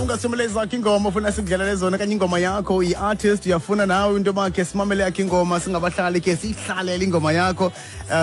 Mhlawumbi ungasithumela ezakho ingoma ufuna sikudlalele zona okanye ingoma yakho, i-artist uyafuna nawe into yoba khe simamele yakho ingoma, singabahlali khe siyihlalele ingoma yakho,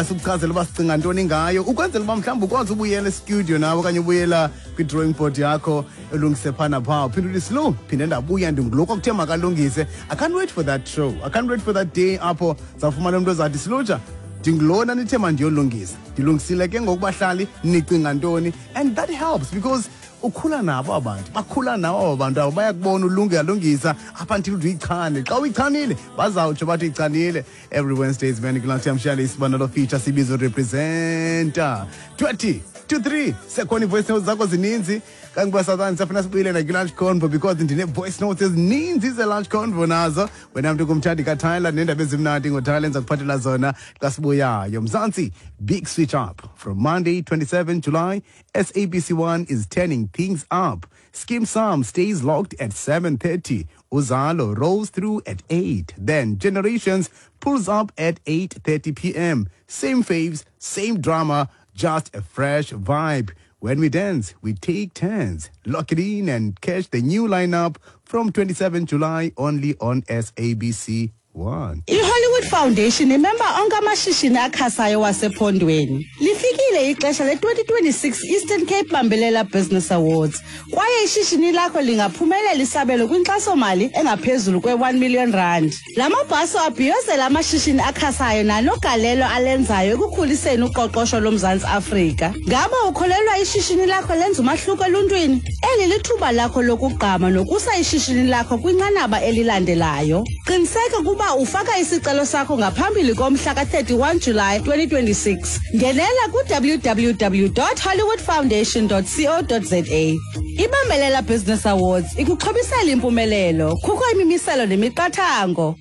sikuchazele uba sicinga ntoni ngayo, ukwenzela uba mhlawumbi ukwazi ubuyela estudio nawe okanye ubuyela kwi-drawing board yakho ulungise phaa naphaa, uphinde uthi slow, phinde ndabuya ndingulo kwakuthe makalungise. I can't wait for that show, I can't wait for that day apho zawufumana umntu ozathi, "Silutsha, ndingulona nithe mandiyolungisa, ndilungisile ke ngoku, bahlali nicinga ntoni?" And that helps because ukhula nabo abantu, bakhula nabo abo bantu abo, bayakubona ulunge alungisa up until uyichane. Xa uyichanile bazawutsho bathi uyichanile. Every Wednesdays, man, kulunch yamshiyale isibanalo feature sibizo Representa. 2:40, sekhona ii-voice notes zakho zininzi kangoba sathani safuna sibuyile nakwi-lunch convo because ndine-voice notes ezininzi ze-lunch convo nazo. Wena mntu kumthandi kaTyler neendaba ezimnandi ngoTyler, enza kuphathela zona xa sibuyayo. Mzansi, big switch up from Monday 27 July. SABC 1 is turning things up. Skeem Saam stays locked at 7:30. Uzalo rolls through at 8. Then Generations pulls up at 8:30 p.m. Same faves, same drama, just a fresh vibe. When we dance, we take turns. Lock it in and catch the new lineup from 27 July only on SABC 1. I-Hollywood Foundation imemba onke amashishini akhasayo wasephondweni. Lifikile ixesha le-2026 Eastern Cape Bambelela Business Awards kwaye ishishini lakho lingaphumelela isabelo kwinkxasomali engaphezulu kwe-1 million rand. La mabhaso abhiyozela amashishini akhasayo nanogalelo alenzayo ekukhuliseni uqoqosho loMzantsi Afrika. Ngaba ukholelwa ishishini lakho lenza umahluko eluntwini? Eli lithuba lakho lokugqama nokusa ishishini lakho kwinqanaba elilandelayo. Qiniseka ukuba ufaka isicelo sakho ngaphambili komhla ka-31 July 2026. Ngenela ku-www.hollywoodfoundation.co.za. Ibambelela Business Awards ikuxhobisela impumelelo. Kukho imimiselo nemiqathango.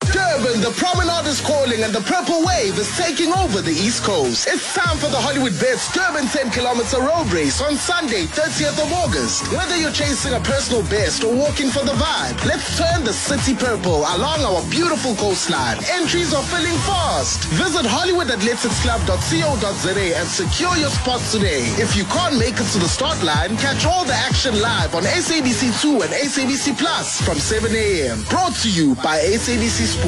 Durban, the Promenade is calling and the Purple Wave is taking over the East Coast. It's time for the Hollywoodbets Durban 10 kilometer road race on Sunday, 30th of August. Whether you're chasing a personal best or walking for the vibe, let's turn the city purple along our beautiful coastline. Entries are filling fast. Visit hollywoodathleticsclub.co.za and secure your spot today. If you can't make it to the start line, catch all the action live on SABC2 and SABC Plus from 7 a.m. Brought to you by SABC Sports.